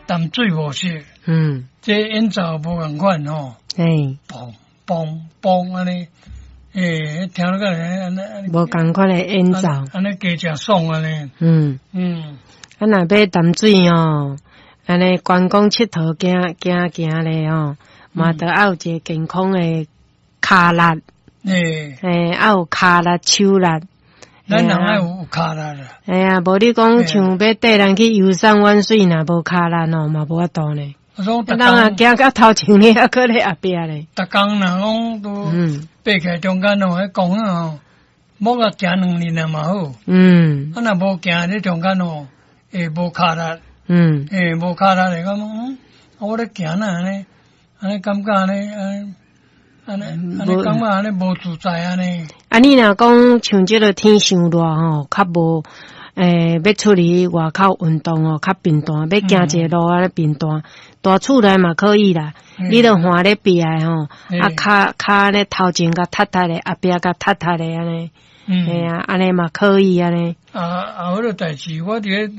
淡水模式，這演奏無仝款吼，嘣嘣嘣按呢，聽落個按呢，無仝款的演奏，按呢加誠爽按呢。啊，若欲淡水吼，按呢觀光𨑨迌行行行咧吼，嘛著愛有一个健康的跤力。愛有跤力、手力。咱人愛有跤力啦。嘿啊，無你講像欲綴人去遊山玩水，若無跤力哦，嘛無法度呢。人啊，行到頭前咧，猶閣咧後壁咧。逐工若講都爬起來中間哦，彼公園哦，無共行2日啊嘛好。啊，若無行咧中間哦，會無跤力。無跤力來講，我咧行哪按呢？按呢感覺按呢？按呢按呢感覺按呢無自在按呢。啊，你若講像這个天傷熱吼，較無欲出去外口運動哦，較頻繁，欲行一个路按呢頻繁，蹛厝內嘛可以啦。你著換咧壁的吼，啊，跤跤按呢頭前共踢踢咧，後壁共踢踢咧按呢。嘿啊，按呢嘛可以按呢。啊啊，彼个代誌我佇咧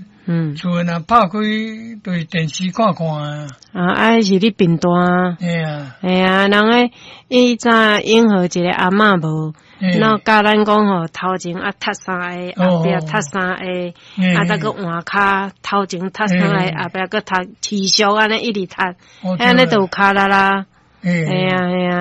厝內若拍開，就是電視看看啊。啊，啊，是你貧惰。嘿啊。嘿啊，人彼以前永和一个阿嬤無，然後教咱講吼，頭前啊踢三下，後壁踢三下，啊，再閣換跤，頭前踢三下，後壁閣踢，持續按呢一直踢，按呢就有跤力啦。嘿啊嘿啊。